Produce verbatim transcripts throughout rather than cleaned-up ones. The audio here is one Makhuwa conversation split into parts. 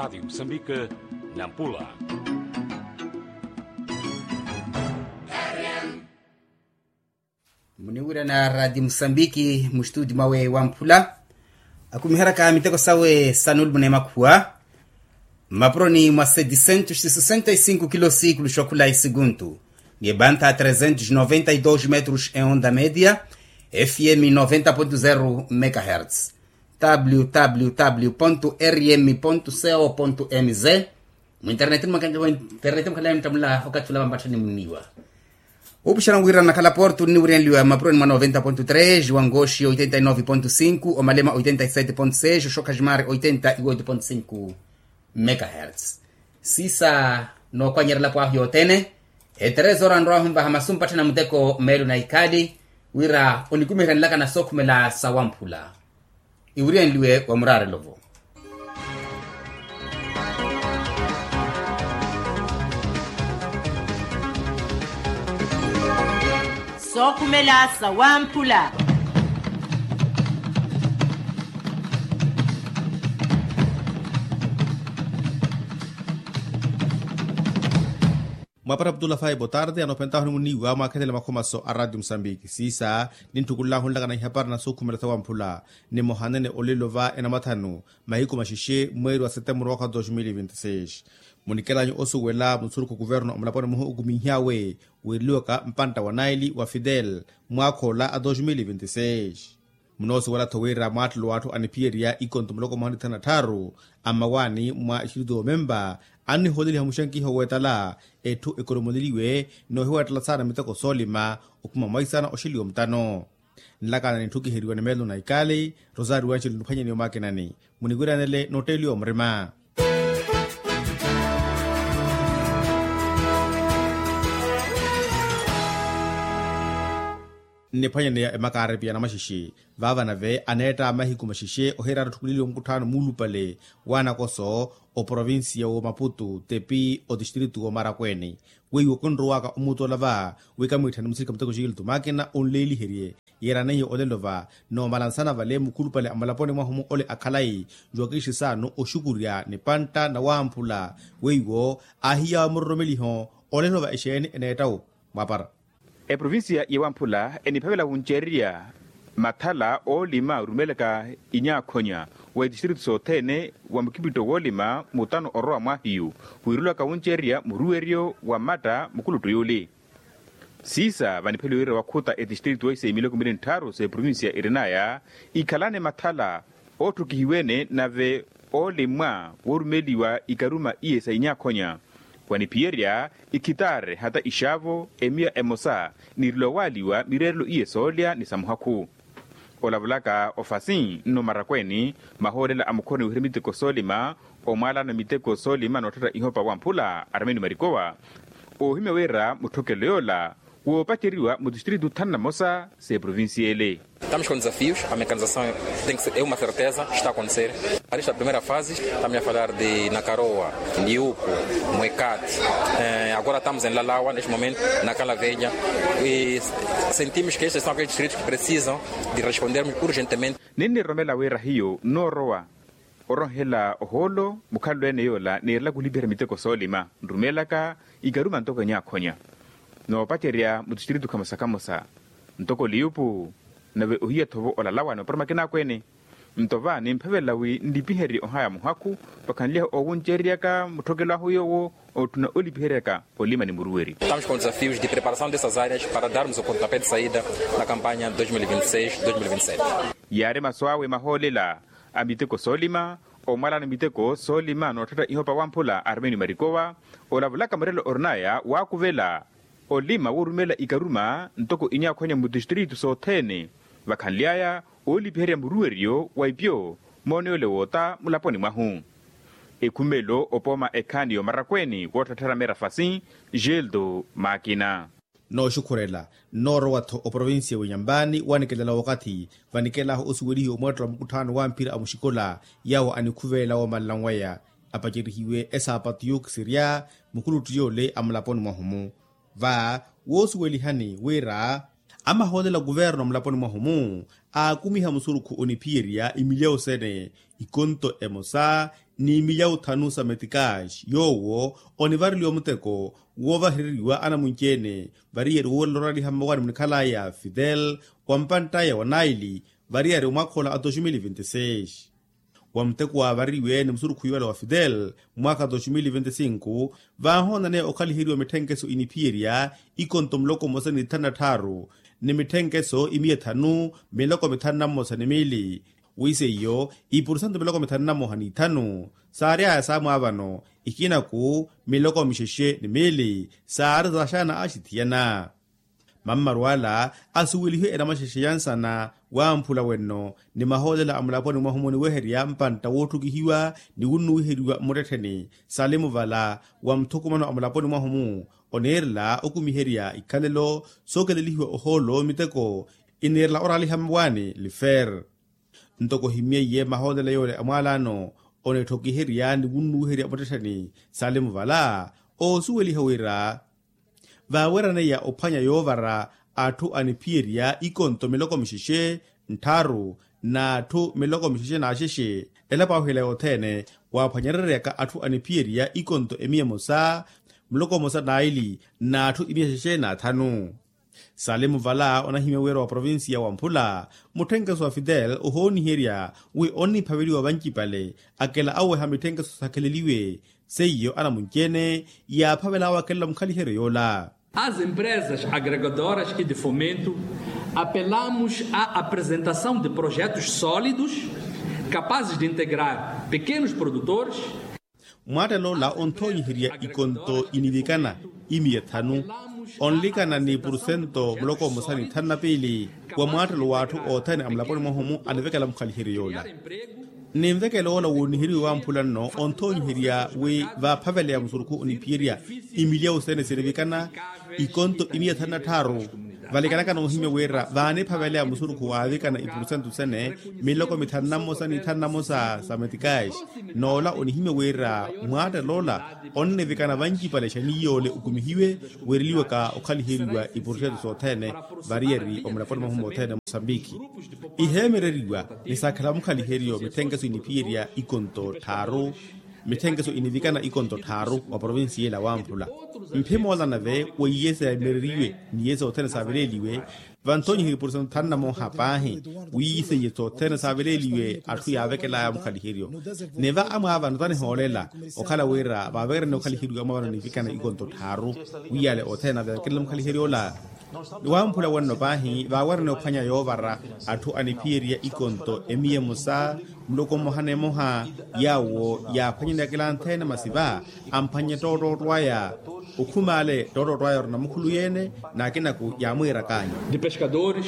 Rádio Moçambique, Nampula. Muniwirana radi musambiki mustudi mwawe wamphula, akumiheraka miteko sawe sanulumuna emakhuwa mmapuroni mwa sedisentus sesenta e sinku kilo sikulu xokhula esiguntu, ni ebanta tresentus noventa e dos metrus e onda media, fm noventa pontu zero megahertz, www rm co mz. Mwinterneti mwakanle muttamula okathi ula vampatthani muniwa. Upuxana wiira nnakhala portu nniwiryanliwa mapuroni mwa noventa pontu tres, wangoxi oitenta e nove pontu sinku, omalema oitenta e sete pontu seis, oxokhaximari oitenta e oito pontu sinku megahertz. Sisa nookwanyeryela pwahu yothene eterezora nrwahu nvaha masu mpatthana muteko meelo na ikhaali, wira onikumiheryanelaka na sookhumela sawamphula. Iwiryanliwe wa muraarelo-vo. Sookhumela sawamphula. Mwapara abdullah fai botarde anophentahu nimuniiwa mwaakhelele makhomaso a radio musambiki siisa, ninttukullahunlaka na ihapara na sookhumela sawamphula. Nimohanene olelo va enamathanu mahiku maxexe mweeri wa setemburu mwaka wa dos mil vinti seis. Munikelanyu osuwela musurukhu kuvernu omulaponi muhu okuminhyawe, wiireliwaka mpantta wa naili wa fidel mwaakha ola a dos mil vinti seis. Munoosuwela-tho wira mwaattelo w'atthu aniphiyerya ikonto muloko mmoha ni thanu na tthaaru a mmawaani mwa istritu y'omempa, annihooleliha muxankiho w'etala etthu ekoromoleliwe noohiwa ettala saana miteko soolima, okhuma mwaisana oxeliwa mutano. Nlakana nintthukiheriwa ni meelo na ikali rosario anxelo niphwanyaniwe mwakinani. Muniwiranele nootteeliwa murima. Nniphwanyaneya emakaaripi ya namaxexe vaava nave aneetta a mahiku maxexe ohiraari otthukuleliwa mukutthaano muulupale w'anakoso oprovincia w'omaputu tepi otistritu w'omarakweeni. Weiwo kinrowaaka omutoola va wi kamwiitthani musirikha muteko xikiltu maakina onleeliherye yeeraneiye olelo va. Noomalansana vale mukhulupale a mulaponi mwahu-mu ole akhalayi njuwakixisaano oxukurya ni pantta na wamphula weiwo aahiya muroromeliho. Olelo va exeeni eneetta-wo mwapara. Eprovincia ya wamphula eniphavela wuncererya mathala oolima orumelaka inyaakhonya wa itistritu sothene wa mukipitto woolima mutano orowa mwahiyu, wiirulaka wuncererya muruweryo wa mmatta mukuluttu yuli. Siisa vanipheliwe wira wakhuta etistritu ise miloko mili ntthaaru s'eprovincia irinaya ikhalane mathala ootthukihiwene nave oolimwa woorumeliwa ikaruma iye sa inyaakhonya, waniphiyerya ikhitaare hata ixaavo emiya emosa niirilo waaliwa mireerelo iye soolya ni sa muhakhu. Olavulaka ofasi nno marakweeni mahoolela a mukhoroni wihira miteko soolima omwaalana miteko soolima nootthetta ihopa wamphula armeni marikowa. Oohimya wira mutthokelo yoola woopaceriwa mu tistritu thanu na mosa s'eprovincia ele. Estamos com desafios, a mecanização tem que ser, é uma certeza, está a acontecer. Ali está a primeira fase, estamos a falar de Nakaroa, Liupo, Mwekati. Eh, agora estamos em Lalawa neste momento, na Calavelha, e sentimos que estes são aqueles distritos que precisam de respondermos urgentemente. Ninniroromela wira hiyo noorowa oronhela ohoolo mukhalelo ene yoola niirelaka olipiherya miteko soolima nrumelaka ikaruma ntoko enyaakhonya. Noopacerya mutistritu khamosa khamosa ntoko liyupu nave ohiya-tho-vo olalawa ni opara makina akweene. Nto va nimphavela wi nlipiherye ohaya muhakhu vakhanly'ahu oowuncereryaka mutthokelo ahu yoowo ootthuna olipiheryaka olima ni muruweryo. Estamos com desafios de preparação dessas áreas para darmos o pontapé de saída na campanha dois mil e vinte e seis, dois mil e vinte e sete. Yaari masu awe mahoolela a miteko soolima omwalana miteko soolima nootthetta ihopa wamphula armeni marikowa olavulaka murelo orinaya waakuvela olima woorumela ikaruma ntoko inyaakhonya mutistritu sothene vakhanly'aya oolipiherya muruweryo wa ipyo mooneyole woota mulaponi mwahu. Ekhumelo opooma ekhaani y'omarakweeni wootthatthera merafasi geldo makina. Nooxukhurela nnoorowa-tho oprovincia w'inyampani wanikelela wakathi vanikelahu osuwelihiwa omweettelo wa mukutthaano wa mphira a muxikola yaawo anikhuvelela woomalela nweya apacerihiwe esaapatu yookisirya mukuluttu yoole a mulaponi mwahu-mu. Va woosuwelihani wira amahoolela kuverno mulaponi mwahu-mu aakumiha musurukhu oniphiyerya imilyawu sene ikonto emosa ni milyawu thanu sa metikaxi yoowo onivareliwa muteko woovahereriwa anamunci-ene variyari woorela oraliha mmawaani munikhalaya fidel wa mpanttaya wa naili variyari omwakha ola a dois mil e vinte e seis. Wa muteko waavariwe ni musurukhuwi wala wa fidel mwaakha dois mil e vinte e cinco vaahoonaneya okhaliheriwa mitthenkeso iniphiyerya ikonto muloko mmosa ni thanu na tthaaru ni mitthenkeso imiya thanu miloko mithanu na mmosa ni miili. Wi seiyo ipursentu miloko mithanu na mmoha ni ithanu saary'aya saamwaavano ikinaku miloko mixexe ni miili saari zaxaana axithiyana. Mammaru ala asuwelihiwe enamaxexe ya nsana wamphula wenno ni mahoolela a mulaponi mwahu muniweherya mpantta woottukihiwa ni wunnuwiheriwa mmuttettheni salimu vala wa muthukumano a mulaponi mwahu-mu oniirela okumiherya ikhalelo sookelelihiwa ohoolo miteko iniirela oraliha mmawaani lifer. Ntoko ohimmyeiye mahoolela yoole a mwaalaano onettokiherya ni wunnuwiherya muttettheni salimu vala oosuweliha wira vaaweraneiya ophwanya yoovara atthu aniphiyerya ikonto miloko mixexe ntthaaru n'atthu miloko mixexe n'axexe elapo ahu ela yothene waaphwanyereryaka atthu aniphiyerya ikonto emiya emosa muloko omosa n'aili n'atthu imiya xexe n'athanu. Salimu vala onahimya wira wa provincia wa mphula mutthenkeso wa fidel ohooniherya wi onniphaveliwa vancipale akela aweha mitthenkeso sakheleliwe seiyo anamunci-ene yaaphavel'awe akela mukhaliheryo yoola. As empresas agregadoras e de fomento apelamos a apresentação de projetos sólidos capazes de integrar pequenos produtores. Mwaattela ola onthoonyiherya ikonto inivikana imiya thanu onlikana ni purusento muloko mmosa ni thanu na piili wa mwaattelo w'atthu othene a mulaponi mwahu-mu anivekela mukhaliheryo yoola. Ni nvekelo ola wooniheriwe wamphula nno onthoonyiherya wi vaaphaveleya musurukhu oniphiyerya imilyawu sene sinivikana ikonto imiya thanu na tthaaru valikanaka noohimya wira vaaniphaveleya musurukhu waavikana ipurusentu sene miloko mithanu na mmosa ni thanu na mmosa sa metikaxi. N'ola onihimya wira mwaattelo ola onnivikana vancipale xaniiyoole okumihiwe weereliwaka okhaliheriwa ipurusentu sothene variyari omulaponi mwahu mothene mosambiki iheemereriwa ni saakhela mukhaliheryo mitthenkeso iniphiyerya ikonto tthaaru. Mitthenkeso inivikana ikonto tthaaru wa provincia ela wamphula mphimoola nave weiye seemereriwe n'iye sothene saaveleeliwe. Vanthonyihiri pursentu thanu na mooha paahi wi seiye sothene saaveleeliwe atthu yaavekel'aya mukhaliheryo. Ni va amwaavano tanihoolela okhala wira vaavekerene okhaliheryo amwaavano nivikana ikonto tthaaru wi yale othene avekelele mukhaliheryo ola. Ni wamphula wenno paahi vaawerene ophwanya yoovara atthu aniphiyerya ikonto emiya emosa muloko mmoha n'emoha yaawo yaaphwanyeneya akila anthene masi va amphwanye ttoottootto aya. Okhuma ale ttoottootto aya orina mukhulu yeene n'akinaku yaamwiirak'anyu. De pescadores,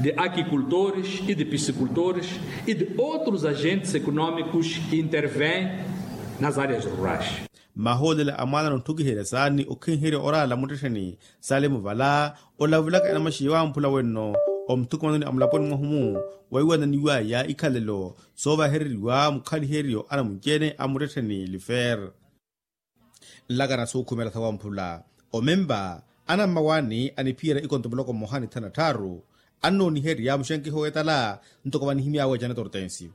de aquicultores e de piscicultores e de outros agentes económicos que intervêm nas áreas rurais. Mahoolela a mwaalano otthukiherya saani okhinherya oraala muttettheni salimu vala olavulaka enamaxi wamphula wenno omuthukumanoni a mulaponi mwahu-mu weiwananiw'aya ikhalelo soovahereriwa mukhaliheryo anamunci-ene a muttettheni lifer. Nlakana suukhumela sawamphula omempa anammawaani aniphiyerya ikonto muloko mmoha ni thanu na tthaaru annooniherya muxenkiho w'etala ntoko vanihimy'awe janeto ortensio.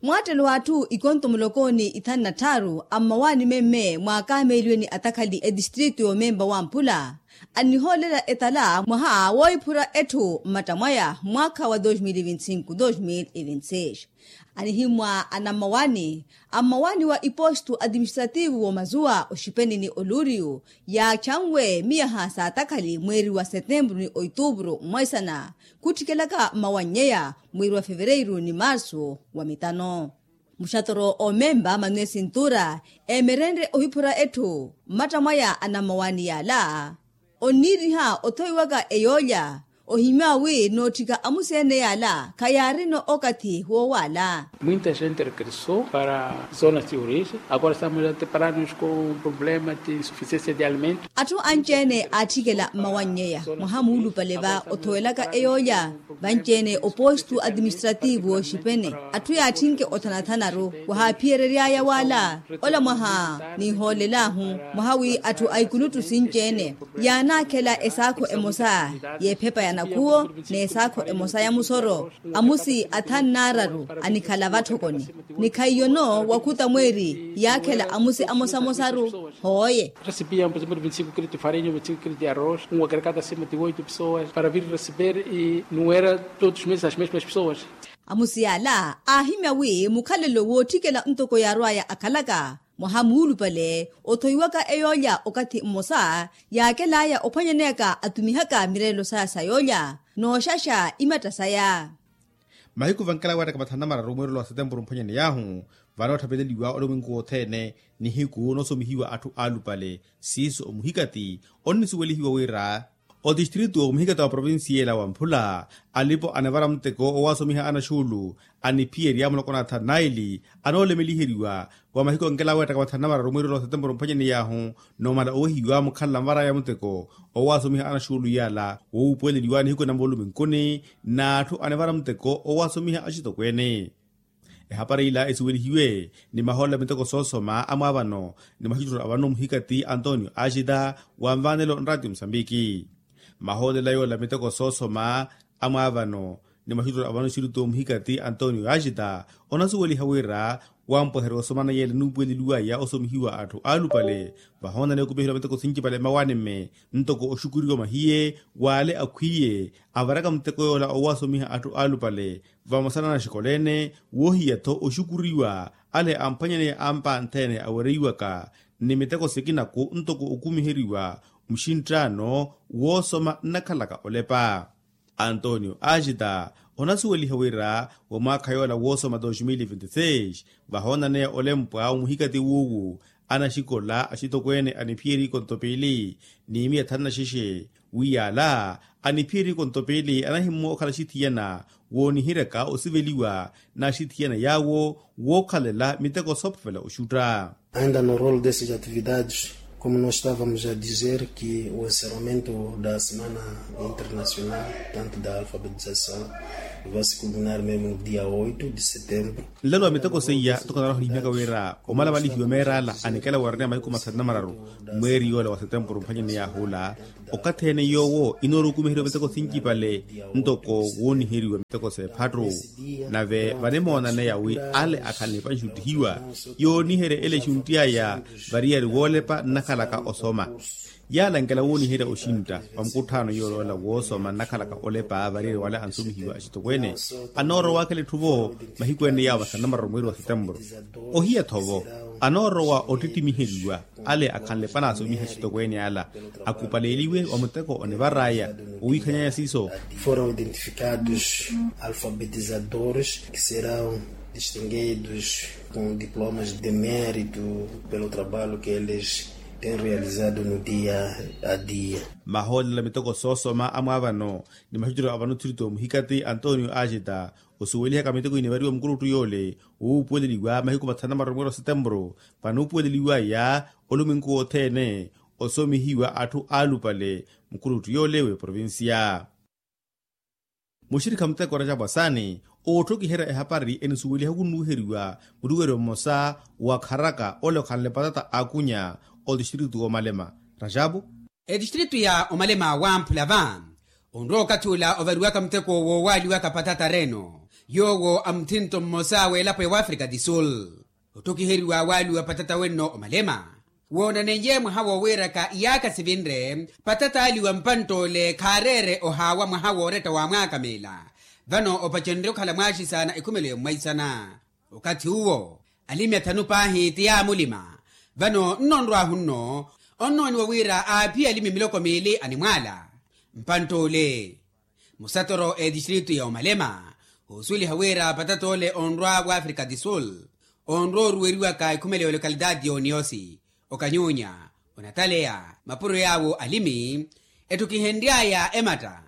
Mwaattelo w'atthu ikonto muloko ni ithanu na tthaaru ammawaani memme mwaakameeliwe ni atakhali etistritu y'omempa wamphula annihoolela etala mwaha woohiphura etthu mmatta mwaya mwaakha wa dois mil e vinte e cinco dois mil e vinte e seis. Anihimwa anammawaani ammawaani wa ipostu atiministrativu w'omazuwa oxipeni ni oluuriyu yaachanwe miyaha saatakhali mweeri wa setempuru ni oituupuru mmoisana khuttikelaka mmawannyeya mweeri wa fevereiru ni marsu wa mitano. Muxatoro omempa manuel sintura eemerenrye ohiphura etthu mmatta mwaya anammawaani yaala onniiriha othoiwaka eyoolya ohimya wi nootthika amusi ene yaala khayaarino okathi woowaala. Muita gente regressou para zonas de origem agora estamos a deparar-nos com um problema de insufficiência de alimentos. Atthu anci-ene aatthikela mmawannyeya mwaha muulupale va othowelaka eyoolya vanci-ene opostu atiministrativu wooxipene atthu yaatthinke othanathanaru wahaaphiyeryery'aya waala. Ola mwaha ninhoolel'ahu mwaha wi atthu a ikuluttu sinci-ene yaanaakhela esaakho emosa y'ephepa ya Nakhuwo n'esaakho emosa ya musoro, amusi athanu n'araru anikhala vatthokoni. Ni khaiyono wakhuta mweeri yaakhela amusi amosamosaru. Hooye. Recebían por exemplo veinticinco kilos de farinha, veinticinco kilos de arroz, um agregado acima de oito pessoas para vir receber e não era todos os meses as mesmas pessoas. Amusi yaala aahimya wi mukhalelo wootthikela ntoko yaarwaya akhalaka mwaha muulupale othoiwaka eyoolya okathi mmosa yaakelaya ophwanyaneyaka atumihaka mireelo saya sa yoolya nooxaxa imatta saya. Mahiku vankela weettaka mathanu na mararu mweerelo wa setempuru mphwanyaney'ahu vanootthaveleliwa olomwenku wothene nihiku noosomihiwa atthu aalupale siiso omuhikati onnisuwelihiwa wira otistritu omuhikati wa provincia ela wa mphula alipo anivara muteko owaasomiha anaxuulu aniphiyerya muloko nathanu naili anoolemeliheriwa wa mahiku ankela weettaka mathanu na mararu mweerelo wa setempuru mphwanyaney'ahu nomala owehiwa mukhalala nvaraya muteko owaasomiha anaxuulu yala wowupuweleliwa nihiku na muluminkuni n'atthu anivara muteko owaasomiha axitokweene. Ehapari ila esuwelihiwe ni mahoolela miteko soosoma amwaavano ni mwaxutturo avano muhikati antonio axita wa nvaanelo nraatio musambiki. Mahoolela yoolela miteko soosoma amwaavano ni mwaxutturo avano xirito muhikati antonio axita onasuweliha wira wampweherya osomana yeela nuupuweleliwaya osomihiwa atthu aalupale vahoonana yokumihiwa miteko sincipale mmawaani-mme ntoko oxukuriwa mahiye w'ale akhwiiye avaraka muteko yoola owaasomiha atthu aalupale vamosa na naxikoleene woohiya-tho oxukuriwa ale amphwanyaneya ampa nthene awereiwaka ni miteko sikinaku ntoko okumiheriwa muxinttaano woosoma nnakhalaka olepa. Antonio axita onasuweliha wira wa mwaakha yoola woosoma dos mil e vinte seis vahoonaneya olempwa omuhikati wuuwu anaxikola axitokweene aniphiyerya ikonto piili ni miya thanu na xexe wi yaala aniphiyerya ikonto piili anahimmo okhala axithiyana wooniheryaka osiveliwa n'axithiyana yaawo wookhalela miteko soophavela oxutta. Ainda no rolo desses atividades, como nós estávamos a dizer que o encerramento da semana internacional tanto da alfabetização vai se culminar mesmo no dia oito de setembro. Nlelo wa miteko seiya ntoko naroha nihimyaka wira omalamalihiwa meerala anikela wooreneya mahiku mathanu na mararu mweeri yoola wa setempuru mphwanyaneya ahula okathi ene yoowo inoorukumiheriwa miteko sincipale ntoko wooniheriwa miteko s'ephattu. Nave vanimoonane yawi ale akhanle panxuttihiwa yooniherya ele exuntti aya variyari woolepa nnakhalaka osoma yaalankela wooniherya oxintta wa mukutthano yoola woola woosoma nnakhalaka olepa variyari wale ansomihiwa axitokweene anoorowa akhela etthu-vo mahiku ene yaawo vathanu na mararu mweeri wa setempuru ohiya-tho-vo anoorowa ottittimiheryiwa ale akhanle panaasomiha axitokweene ala akupaleliwe wa muteko onivar'aya owiikhanyanya siiso. Foram identificados alfabetizadores que serão distinguidos com diplomas de mérito pelo trabalho que eles têm realizado no dia a dia. Mahoolela miteko soosoma amwaavano ni maxuttiro avano tthirito muhikati antonio axita osuwelihaka miteko inivariwa mukuluttu yoole wuupuweleliwa mahiku mathanu na mararu mweeri wa setempuru vanuupuweleliwaya olumwenku wothene osomihiwa atthu aalupale mukuluttu yoole w'eprovincia. Muxirikha muteko rajapu asaani oottokiherya ehapari enisuweliha khunnuuheriwa muruweryo mmosa wakharaka ole okhanle patata aakunya otistritu w'omalema rajapu. Etistritu ya omalema wamphula va onrowa okathi ula ovariwaka muteko woowaaliwaka patata reno yoowo a muthinto mmosa w'elapo ya wafrika di sul. Otthokiheriwa waaliwa patata wenno omalema woonaneiye mwaha woowiiraka iyaakha sivinre patata aaliwa mpantt'ole khaareere ohaawa mwaha wooretta wa mwaaka meela. Vano opacenrye okhala mwaaxisaana ekhumelo ya mmwaisana okathi uwo alimi athanu paahi ti yaamulima. Vano nnonrw'ahu-nno onnooniwa wira aaphiye alimi miloko miili animwaala mpantt'ole musatoro etistritu ya omalema. Oosuweliha wira patata ole onrwa w'afrika di sul onrwa oruweriwaka ekhumelo ya olokalitaati y'oniosi okanyunya onataleya mapuro yaawo alimi etthu kihenry'aya ematta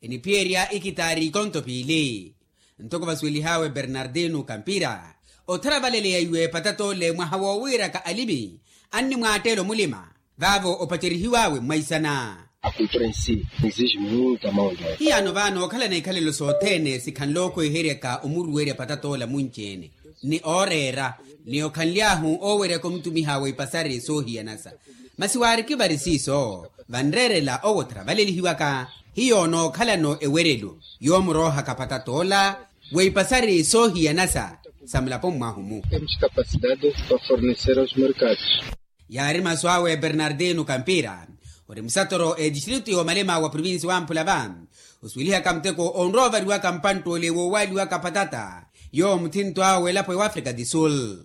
eniphiyerya ikitaari ikonto piili. Ntoko vasuwelih'awe bernardino kampira otharavaleleya iwe patata ole mwaha woowiiraka alimi annimwaatteela omulima vaavo opacerihiw'awe mmwaisana. Akultura ensi exige muita mão de obra. Hiyaano vaano okhalana ikhalelo sothene sikhanle okhweheryaka omuruwerya patata ola munci-ene ni ooreera ni okhanly'ahu ooweryaka omutumih'awe ipasari soohiyanasa. Masi waariki vari siiso vanreerela owo otharavalelihiwaka. hiyo nookhalano ewerelo yoomuroohaka patattoola, weipasari soohiyanasa sa mulapo mwahu-mu. Temos capacidade para fornecer aos mercados. Yaari masu awe bernardino kampira, ori musatoro etistritu yoomalema wa provinsi wamphula va, osuwelihaka muteko onrowa ovariwaka mpantt'ole woowaaliwaka patata yoowo muthinto awe elapo ewafrika di sul.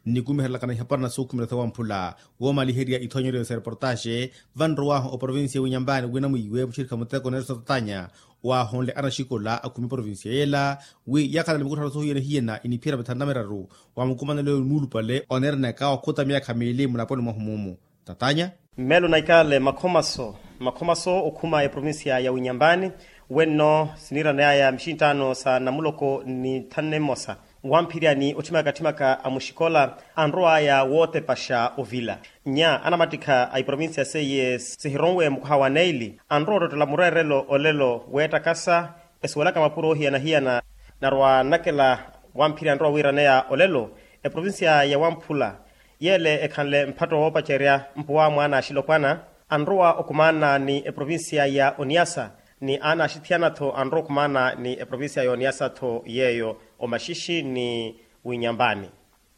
Nnikumiherelakana ihapara na suukhumira tha wamphula woomaliherya ithoonyeryo sa reportaxe, vanrowaahu oprovinsiya winyambani winamwiiwe muxirikha muteko nelson tatanya, waahonle anaxikola akhumi provinsiya yela wi yakhalale mikuttha na sohiyana hiyana iniphiyana mithanu na miraru wa mukumanelo muulupale oneeranaka okhuta myaakha miili mulaponi mwahu mumu. Tatanya. Mmeelo na ikale makhomaso makhomaso okhuma eprovinsiya ya winyambani, wenno siniiraneyaya mixinttaano sa namuloko ni thanu na mmosa wamphirya ni otthimaka tthimaka a muxikola anrowaya wootepaxa ovila. Nya anamattikha a iprovinsiya seiye sihironwe mukaha wa neili anrowa ottottela mureerelo olelo weettakasa, esuwelaka mapuro ohiyana-hiyana. Narowa nnakela wamphirya anrowa wiiraneya olelo eprovinsiya ya wamphula yeele ekhanle mphatto woopacerya mpuwa mwaana axilopwana anrowa okumaana ni eprovinsiya ya oniyasa, ni aana axithiyana-tho anrowa okumaana ni eprovinsiya ya oniyasa-tho yeeyo omaxixi ni winyambani.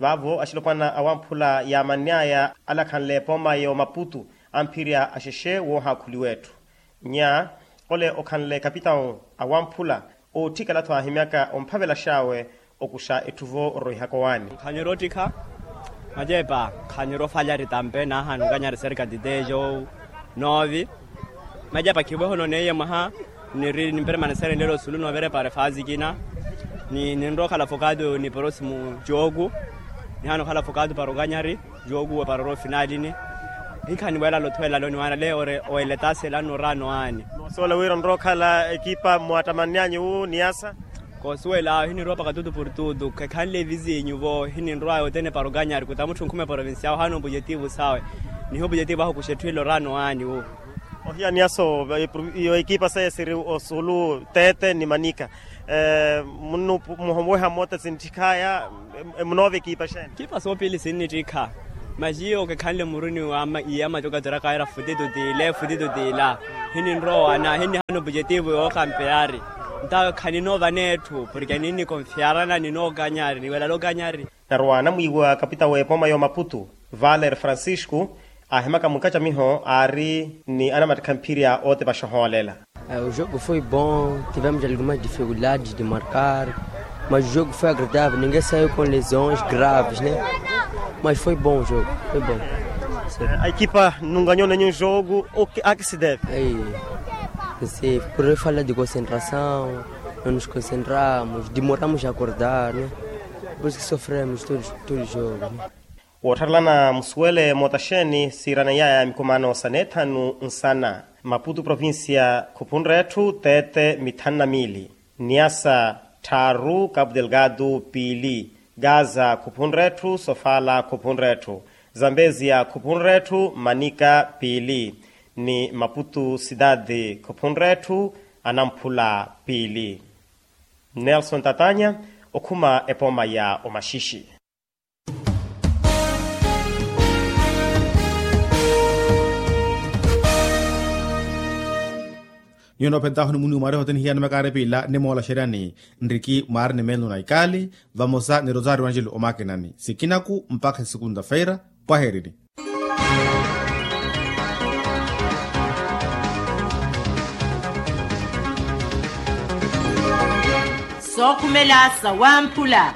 Vaavo axilopwana awamphula yaamanny'aya alakhanle epooma y'omaputu amphirya axexe woohaakhuliwa etthu. Nya ole okhanle kapitawu awamphula ootthikela-tho aahimyaka omphavelax'awe okuxa etthu vo oroihaka owaani. Nkhanyu roottikha macepa nkhanyu roofalyari tampe naahani okanyari serka titejo. Noovi macepa khivohe ononeiye mwaha niri nimperemaneserenlelo sulu noovira epara efaasi ekina. Ninrowa okhala fokatu ni porosimu jooku nihana okhala fokatu para okanyari jooku epara oroofinalini. Hinkha niweelala othuwelela loni waana le ore oweletase lano oraano aani. Noosuwela wira onrowa okhala ekipa mwattamanny'anyu wu niyasa. Koosuwela awo hininrowa pakatutu portutu khekhanle evizinyu vo hininrowa yothene para okanyari kuta mutthu nkhuma eprovinsiya awo haana opujetivu sawe. Niho opujetivu ahu kuxa etthu ila oraano aani wu. Ohiya niyasa yo ekipa seiye siri osulu tete ni manika. Muhomuweha moota sinttikhaya. Munoova ekipa xeeni? Ekipa soopili sinnittikha. Maxiyo kekhanle muruni wa iyama cokacorakayera futi tutila futi tutila. Hininrowana hinnihana opujetivu yookampeyari. Nta khaninoova netthu porke ninnikonfiyarana ninookanyari niwelala okanyari. Narowa anamwiiwa kapita w'epooma y'omaputu valer francisco aahimaka mukacamiho aari ni anamattikha mphirya ootepaxa ohoolela. O jogo foi bom, tivemos algumas dificuldades de marcar, mas o jogo foi agradável ninguém saiu com lesões graves né. Mas foi bom o jogo. Foi bom. A ekipa nunganhonenyu jogo a que se deve? Por falta de concentração, não nos concentramos, demoramos a acordar né. Por isso que sofremos todo jogo. Woottharelana musuwele moota xeeni siiraneyaya mikumaano sa neethanu nsana. Maputu provincia khuphunre etthu teete mithanu na miili. Niasa tthaaru kapu delgado piili. Gaza khuphunre etthu sofala khuphunre etthu. Zambezia khuphunre etthu manika piili. Ni maputu sitati khuphunre etthu anamphula piili. Nelson tatanya okhuma epooma ya omaxixi. Nyuwo noophentahu ni muniwu mwaari hote nihiya ni makaari piila nimoolaxeryani nriki mwaari ni meelo na ikaali vamosa ni rosario angelo omakinani sikinaku mpakha esikunda feira. Pwaheerini. Sookhumela sawamphula.